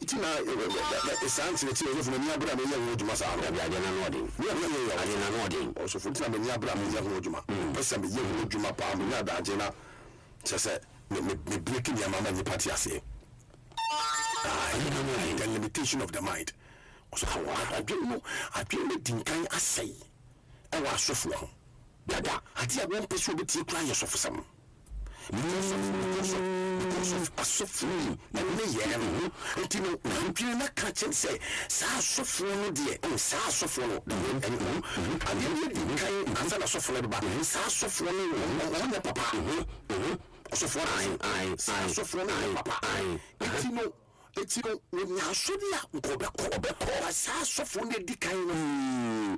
Nti na saa nkyerɛkyerɛ ɔsɔfo m'ani abere a meyɛ ho adwuma saa no. Dabi adeɛ no ano ɔden. Adeɛ no ano ɔden. Ɔsɔfo nti na m'ani abere a meyɛ ho adwuma. Mepɛ sɛ meyɛ ho adwuma paa menya adagye na kyerɛ sɛ me me me break nneɛma ma nnipa te aseɛ. Ah, the limitation of the mind. Ɔsɔfo adwene no adwene no di nkan asɛe ɛwɔ asɔfoɔ ho. Dada adeɛ a wɔmpɛ sɛ wɔbɛtie koraa yɛ sɔfosɛm. Because of because of because of asɔfoɔ yi ɛne yɛɛ no nti no n'adwene no aka kyɛm sɛ saa asɔfoɔ no deɛ oh saa asɔfoɔ no ɛne adeɛ no yɛ di nkan ansa na asɔfoɔ no bɛba saa asɔfoɔ no wɔn nyɛ papa ɔsɔfoɔ no saa asɔfoɔ no nyɛ papa nti no nti no wɔnya asɔre a nka ɔbɛkɔ ɔbɛkɔ ba saa asɔfoɔ no adi kan no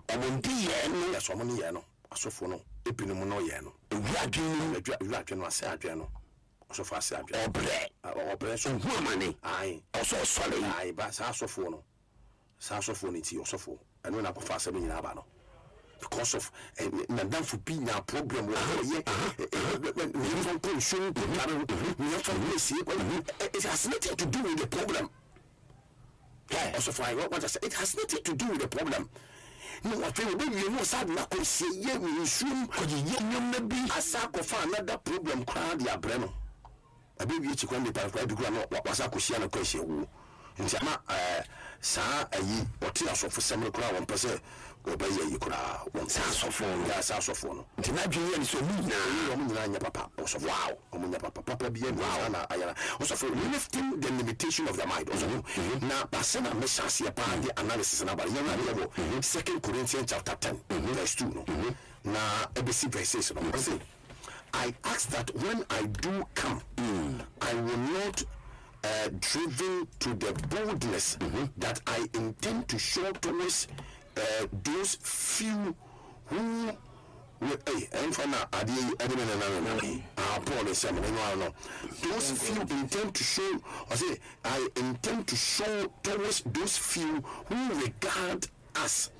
wɔn de yɛɛ no yɛ sɛ wɔn ne yɛɛ no. Asɔfoɔ no binom no yɛɛ no. Ewura adwene no mu. Ewura adwene no, asɛe adwene no. Ɔsɔfoɔ asɛe adwene no. Ɔbrɛ. Ɔbrɛ nso. Ohu amane. Ae. Ɔsɛ ɔsɔre. Ae, ba saa asɔfoɔ no, saa asɔfoɔ no nti, ɔsɔfoɔ, ɛno na akɔfa asɛm no nyinaa aba no. Because of, n'adamfo bi nyaa problem wɔ hɔ, yɛ, nea ɛmfa nkɔ nsuo mu nkɔdware ho, nea ɛmfa nkɔ asie, it has nothing to do with the problem. Hɛ, ɔsɔfo ayɛ, wate ase, it has nothing to do with the problem. Na afei wɔbɛwie no ɔsan de no akɔ asieɛ wɔ nsuo mu. Kɔyeyɛ nneɛma bi. Asan akɔfa another problem koraa de abrɛ no. Ɛbɛwie akyi koraa nipa no koraa ebi koraa no wasan akɔhyia no kɔ ahyia wuo. Nti ama ɛɛ saa ayi ɔte asɔfosɛm no koraa wɔmpɛ sɛ wɔbɛyɛ ayi koraa. Wɔmpɛ. Saa asɔfoɔ no. Yeah, saa asɔfoɔ no. Nti n'adwene yɛ no sɛ wɔn nyinaa. Wɔn nyinaa nyɛ papa ɔsɔfo. Wow. Ɔmo nyɛ papa papa biaa nni hɔ saa na ayɛ na ɔsɔfo lifting the limitation of the mind ɔsɔfo na ase na mehyɛ aseɛ paa de analysis no aba no yɛn adeɛ wɔ second Corinthians chapter ten verse 2 no na ɛbɛsi verse 6 no ɔse I ask that when I do come I will not uh, driven to the boldness that I intend to show towards uh, those few who Me ei, ɛmfa na adeɛ yi ɛde me nana nana yi. Ah, Paul nsɛm no, ɛno ara no. Those few intend to show, ɔse, I intend to show towards those few who regard us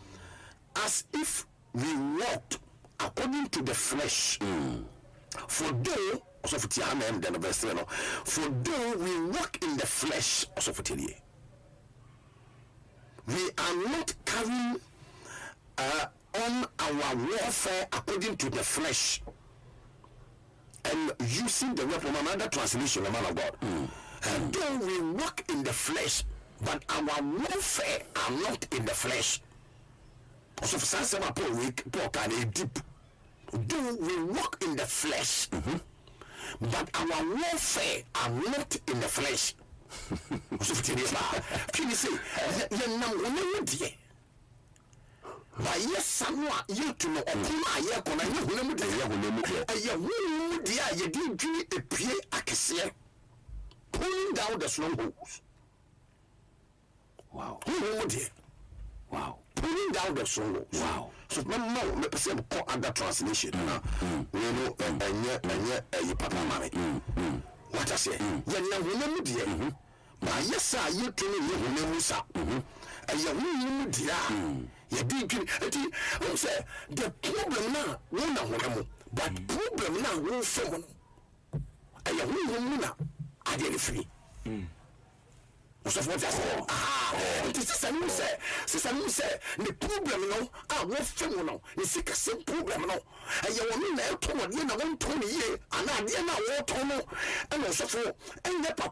as if we walked according to the flesh. For though, ɔsɔfo tie ha na ɛm dɛ no verse 3 no, for though we walk in the flesh, ɔsɔfo tie nie, we are not carrying uh, on our warfare according to the flesh and using the weapon another translation the man of God mm. And though we walk in the flesh but our warfare are not in the flesh ɔsɔfo saa asɛm a Paul wei Paul kaa no ɛyɛ deep though we walk in the flesh mm -hmm. but our warfare are not in the flesh ɔsɔfo tie deɛ paa twi ne se yɛnam honam mu deɛ Na yɛ sa no a yɛtu no, ɔko no a yɛkɔ no, ɛnyɛ honam mu deɛ. Ɛnyɛ honam mu deɛ. Ɛyɛ honhom mu deɛ a yɛde dwiri epie akɛseɛ. Pulling down the strongholds. Wow. Honhom mu deɛ. Wow. Pulling down the strongholds. Wow. So mɛma wo, mepɛ sɛ mekɔ other translation na wei no ɛnyɛ ɛnyɛ ɛyi papa ma me. Wate aseɛ? Yɛnam honam mu deɛ. Na ayɛ sɛ a yɛtu no nyɛ honam mu sa, ɛyɛ honhom mu deɛ a yɛde dwene. Nti wohu sɛ the problem no a wo na honam mu, but problem no a wofa mu no ɛyɛ honhom mu na adeɛ no firi. Ɔsɔfo wɔte ase? Aha. Nti sisa no hu sɛ, sisa no hu sɛ ne problem no a wofa mu no, ne sikasɛm problem no, Ɛyɛ ɔno na ɛtɔn adeɛ na wɔntɔn no yie anaa adeɛ no a wɔretɔn no ɛna ɔsɔfo ɛnyɛ papa.